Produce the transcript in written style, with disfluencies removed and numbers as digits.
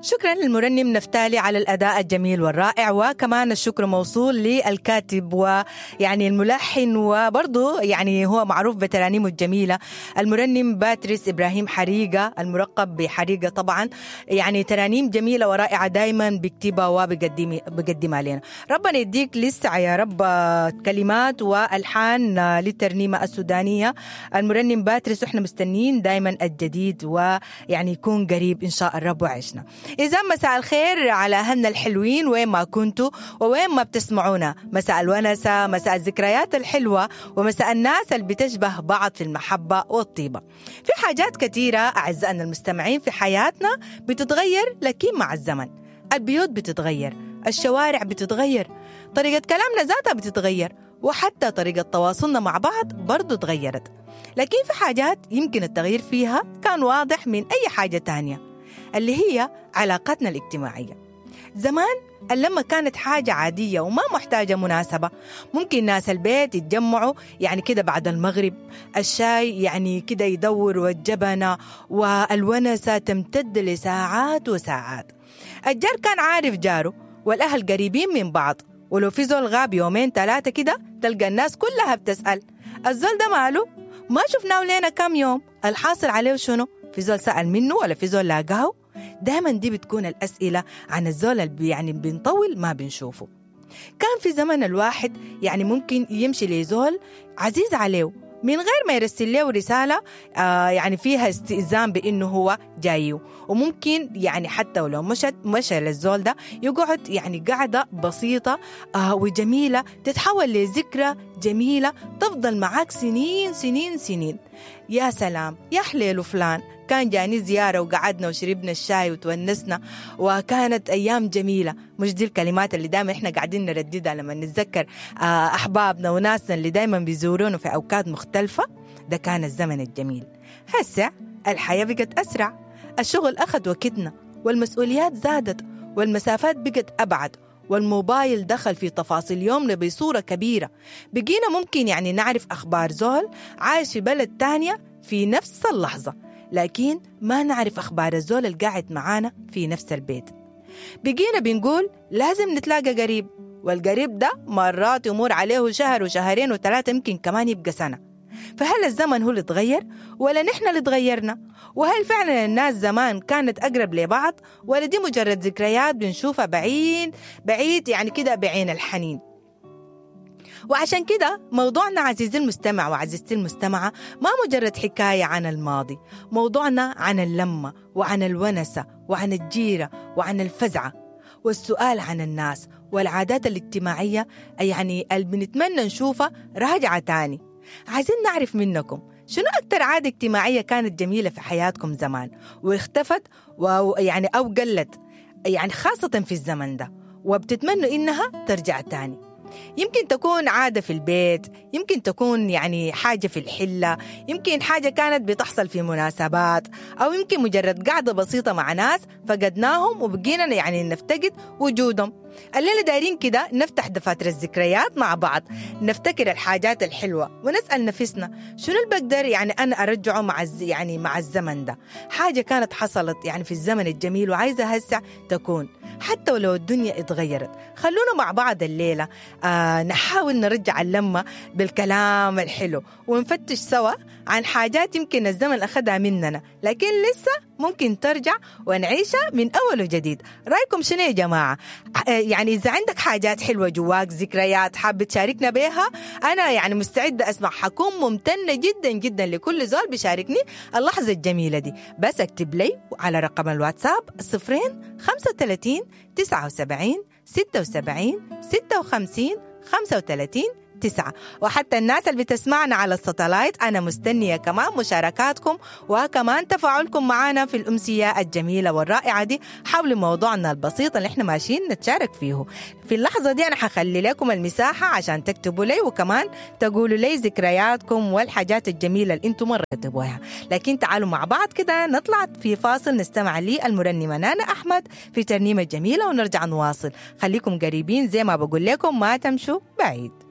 شكرا للمرنم نفتالي على الأداء الجميل والرائع، وكمان الشكر موصول للكاتب ويعني الملحن، وبرضه يعني هو معروف بترانيمه الجميلة، المرنم باتريس إبراهيم حريقة المرقب بحريقة. طبعا يعني ترانيم جميلة ورائعة دايما بيكتبها وبقدمها لنا. ربنا يديك لسه يا رب كلمات والحان للترنيمة السودانية المرنم باتريس، واحنا مستنيين دايما الجديد ويعني يكون قريب إن شاء الرب وعشنا. إذا مساء الخير على أهلنا الحلوين وين ما كنتوا ووين ما بتسمعونا، مساء الونسة، مساء الذكريات الحلوة، ومساء الناس اللي بتشبه بعض في المحبة والطيبة. في حاجات كثيرة أعزائنا المستمعين في حياتنا بتتغير لكن مع الزمن. البيوت بتتغير، الشوارع بتتغير، طريقة كلامنا ذاتها بتتغير، وحتى طريقة تواصلنا مع بعض برضو تغيرت. لكن في حاجات يمكن التغيير فيها كان واضح من أي حاجة تانية، اللي هي علاقاتنا الاجتماعية. زمان اللمة كانت حاجة عادية وما محتاجة مناسبة، ممكن ناس البيت يتجمعوا يعني كده بعد المغرب، الشاي يعني كده يدور، والجبنة والونسة تمتد لساعات وساعات. الجار كان عارف جاره، والأهل قريبين من بعض، ولو في زول غاب يومين ثلاثة كده تلقى الناس كلها بتسأل الزول ده ماله، ما شفناه لينا كم يوم، الحاصل عليه شنو، في زول سأل منه ولا في زول لاقاه. دايما دي بتكون الأسئلة عن الزول اللي يعني بنطول ما بنشوفه. كان في زمن الواحد يعني ممكن يمشي لزول عزيز عليه من غير ما يرسل له رسالة يعني فيها استئذان بأنه هو جايه، وممكن يعني حتى ولو مشى للزول ده يقعد يعني قعدة بسيطة وجميلة تتحول لذكرى جميلة تفضل معاك سنين سنين سنين. يا سلام، يا حليل فلان كان جاني زيارة وقعدنا وشربنا الشاي وتونسنا وكانت أيام جميلة. مش دي الكلمات اللي دائما إحنا قاعدين نرددها لما نتذكر أحبابنا وناسنا اللي دائما بيزورونا في أوقات مختلفة؟ ده كان الزمن الجميل. هسه الحياة بقت أسرع، الشغل أخذ وقتنا، والمسؤوليات زادت، والمسافات بقت أبعد، والموبايل دخل في تفاصيل يومنا بصورة كبيرة. بقينا ممكن يعني نعرف أخبار زول عايش في بلد تانية في نفس اللحظة، لكن ما نعرف أخبار الزول القاعد معانا في نفس البيت. بقينا بنقول لازم نتلاقى قريب، والقريب ده مرات يمر عليه شهر وشهرين وثلاثة، يمكن كمان يبقى سنة. فهل الزمن هو اللي تغير ولا نحن اللي تغيرنا؟ وهل فعلا الناس زمان كانت أقرب لبعض ولا دي مجرد ذكريات بنشوفها بعيد بعيد يعني كده بعين الحنين؟ وعشان كده موضوعنا عزيزي المستمع وعزيزتي المستمعة ما مجرد حكاية عن الماضي، موضوعنا عن اللمة وعن الونسة وعن الجيرة وعن الفزعة والسؤال عن الناس والعادات الاجتماعية يعني اللي بنتمنى نشوفها راجعة تاني. عايزين نعرف منكم شنو أكتر عادة اجتماعية كانت جميلة في حياتكم زمان واختفت ويعني أو قلت، يعني خاصة في الزمن ده، وبتتمنوا إنها ترجع تاني. يمكن تكون عادة في البيت، يمكن تكون يعني حاجة في الحلة، يمكن حاجة كانت بتحصل في مناسبات، أو يمكن مجرد قعدة بسيطة مع ناس فقدناهم وبقينا يعني نفتقد وجودهم. الليلة دايرين كده نفتح دفاتر الذكريات مع بعض، نفتكر الحاجات الحلوة ونسأل نفسنا شنو اللي بقدر يعني أنا أرجعه مع يعني مع الزمن ده، حاجة كانت حصلت يعني في الزمن الجميل وعايزة هسه تكون حتى ولو الدنيا اتغيرت. خلونا مع بعض الليلة نحاول نرجع اللمة بالكلام الحلو ونفتش سوا عن حاجات يمكن الزمن أخذها مننا لكن لسه ممكن ترجع ونعيشها من أول وجديد. رأيكم شنو يا جماعة؟ يعني إذا عندك حاجات حلوة جواك، ذكريات حابة تشاركنا بيها، أنا يعني مستعدة أسمع، حكون ممتنة جدا جدا لكل زول بيشاركني اللحظة الجميلة دي. بس اكتب لي على رقم الواتساب 0 35 79 76 56 35 9. وحتى الناس اللي بتسمعنا على الساتلايت أنا مستنية كمان مشاركاتكم وكمان تفاعلكم معنا في الأمسية الجميلة والرائعة دي حول موضوعنا البسيط اللي احنا ماشيين نتشارك فيه. في اللحظة دي أنا حخلي لكم المساحة عشان تكتبوا لي وكمان تقولوا لي ذكرياتكم والحاجات الجميلة اللي انتم مريتوا بها. لكن تعالوا مع بعض كده نطلع في فاصل نستمع للمرنمة نانا أحمد في ترنيمة جميلة ونرجع نواصل. خليكم قريبين زي ما بقول لكم، ما تمشوا بعيد.